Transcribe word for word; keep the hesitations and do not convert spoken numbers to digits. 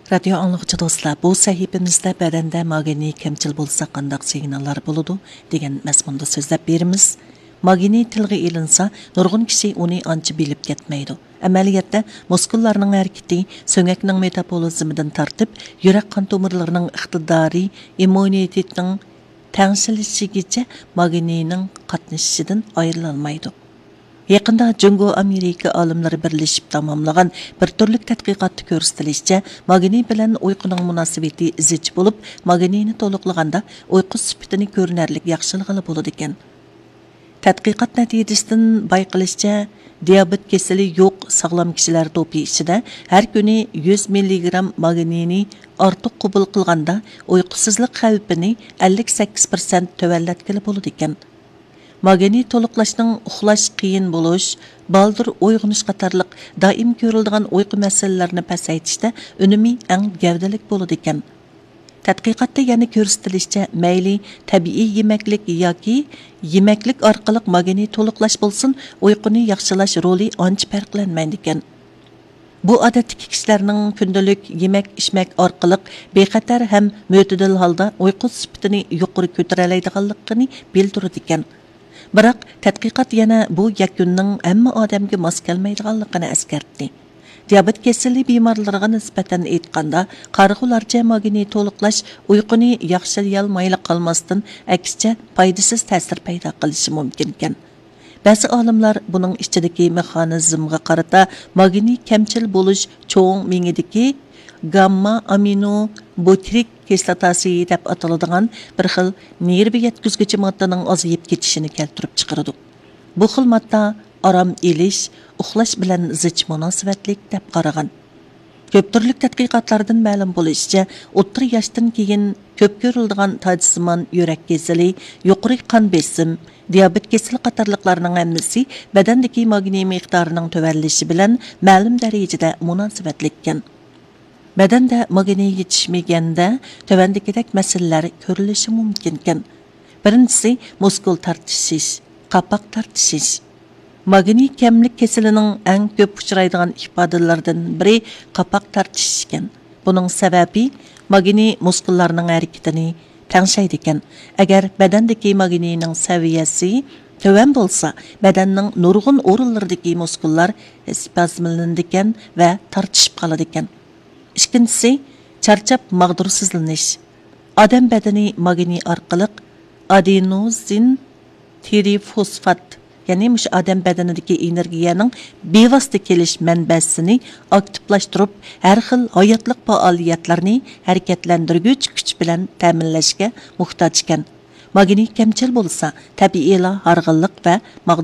رادىيو ئاڭلىغۇچى دوستلار، بۇ سەھىپىمىزدە بەدەندە ماگنىي كەمچىل بولسا قانداق سىگناللار بولىدۇ دېگەن مەزمۇندا سۆزلەپ بېرىمىز. ماگنىي تىلغا ئېلىنسا، نۇرغۇن كىشى ئۇنى ئانچە بىلىپ كەتمەيدۇ. ئەمەلىيەتتە، مۇسكۇللارنىڭ ھەرىكىتى، سۆڭەكنىڭ مېتابولىزمىدىن تارتىپ، يۈرەك قان تومۇرلىرىنىڭ ئىقتىدارى، ئىممۇنىتېتنىڭ تەڭشىلىشىگىچە ماگنىينىڭ قاتنىشىشىدىن ئايرىلالمايدۇ. يېقىندا جۇڭگو ئامېرىكا ئالىملىرى بىرلىشىپ تاماملىغان بىر تۈرلۈك تەتقىقاتتا كۆرسىتىلىشىچە، ماگنىي بىلەن ئۇيقۇنىڭ مۇناسىۋىتى زىچ بولۇپ، ماگنىينى تولۇقلىغاندا ئۇيقۇ سۈپىتىنى كۆرۈنەرلىك ياخشىلىغىلى بولىدىكەن. تەتقىقات نەتىجىسىدىن بايقىلىشىچە، دىيابېت كېسىلى يوق ساغلام كىشىلەر توپى ئىچىدە ھەر كۈنى يۈز مىللىگرام ماگنىينى ئارتۇق قوبۇل قىلغاندا، ئۇيقۇسىزلىق خەۋپىنى ئەللىك سەككىز پىرسەنت تۆۋەنلەتكىلى بولىدىكەن. ماگنىي تولۇقلاشنىڭ ئۇخلاش قىيىن بولۇش، بالدۇر ئويغىنىش قاتارلىق دائىم كۆرۈلىدىغان ئۇيقۇ مەسىلىلىرىنى پەسەيتىشتە ئۈنۈمى ئەڭ گەۋدىلىك بولىدىكەن. تەتقىقاتتا يەنە كۆرسىتىلىشىچە، مەيلى تەبىئىي يېمەكلىك ياكى يېمەكلىك ئارقىلىق ماگنىي تولۇقلاش بولسۇن، ئۇيقۇنى ياخشىلاش رولى ئانچە پەرقلەنمەيدىكەن. بۇ ئادەتتىكى كىشىلەرنىڭ كۈندىلىك يېمەك-ئىچمەك ئارقىلىق بىخەتەر ھەم مۆتىدىل ھالدا ئۇيقۇ سۈپىتىنى يۇقىرى كۆتۈرەلەيدىغانلىقىنى بىلدۈرىدىكەن. بىراق، تەتقىقات يەنە بۇ يەكۈننىڭ ھەممە ئادەمگە ماس كەلمەيدىغانلىقىنى ئەسكەرتتى. دىيابېت كېسىلى بىمارلىرىغا نىسبەتەن ئېيتقاندا، قارىغۇلارچە ماگنىي تولۇقلاش ئۇيقۇنى ياخشىلىيالمايلا قالماستىن، ئەكسىچە پايدىسىز تەسىر پەيدا قىلىشى مۇمكىنكەن. بەزى ئالىملار بۇنىڭ ئىچىدىكى مېخانىزمغا قارىتا ماگنىي كەمچىل بولۇش چوڭ مېڭىدىكى گامما ئامىنو بۇترىك كىسلاتاسى دەپ ئاتىلىدىغان بىر خىل نېرۋا يەتكۈزگۈچى ماددىنىڭ ئازىيىپ كېتىشىنى كەلتۈرۈپ چىقىرىدۇ. بۇ خىل ماددا ئارام ئېلىش، ئۇخلاش بىلەن زىچ مۇناسىۋەتلىك دەپ قارىغان. كۆپ تۈرلۈك تەتقىقاتلاردىن مەلۇم بولۇشىچە، ئوتتۇرا ياشتىن كېيىن كۆپ كۆرۈلىدىغان تاجسىمان يۈرەك كېسىلى، يۇقىرى قان بېسىم، دىيابېت كېسىلى قاتارلىقلارنىڭ ھەممىسى بەدەندىكى ماگنىي مىقدارىنىڭ تۆۋەنلىشى بىلەن مەلۇم دەرىجىدە مۇناسىۋەتلىككەن. بەدەندە ماگنىي يېتىشمىگەندە تۆۋەندىكىدەك مەسىلىلەر كۆرۈلۈشى مۇمكىنكەن. بىرىنچىسى، مۇسكۇل تارتىشىش، قاپاق تارتىشىش. ماگنىي كەملىك كېسىلىنىڭ ئەڭ كۆپ ئۇچرايدىغان ئىپادىلىرىدىن بىرى قاپاق تارتىشىش ئىكەن. بۇنىڭ سەۋەبى، ماگنىي مۇسكۇللارنىڭ ھەرىكىتىنى تەڭشەيدىكەن. ئەگەر بەدەندىكى ماگنىينىڭ سەۋىيەسى تۆۋەن بولسا، بەدەننىڭ نۇرغۇن ئورۇنلىرىدىكى مۇسكۇللار ئىسپازملىنىدىكەن ۋە تارتىشىپ قالىدىكەن. ئىككىنچىسى، چارچاپ ماغدۇرسىزلىنىش. ئادەم بەدىنى ماگنىي ئارقىلىق ئادېنوزىن ترىفوسفات، يەنى مۇشۇ ئادەم بەدىنىدىكى ئېنېرگىيەنىڭ بىۋاسىتە كېلىش مەنبەسىنى ئاكتىپلاشتۇرۇپ، ھەر خىل ھاياتلىق پائالىيەتلىرىنى ھەرىكەتلەندۈرگۈچ كۈچ بىلەن تەمىنلەشكە موھتاج ئىكەن. ماگنىي كەمچىل بولسا، تەبىئىيلا ھارغىنلىق ۋە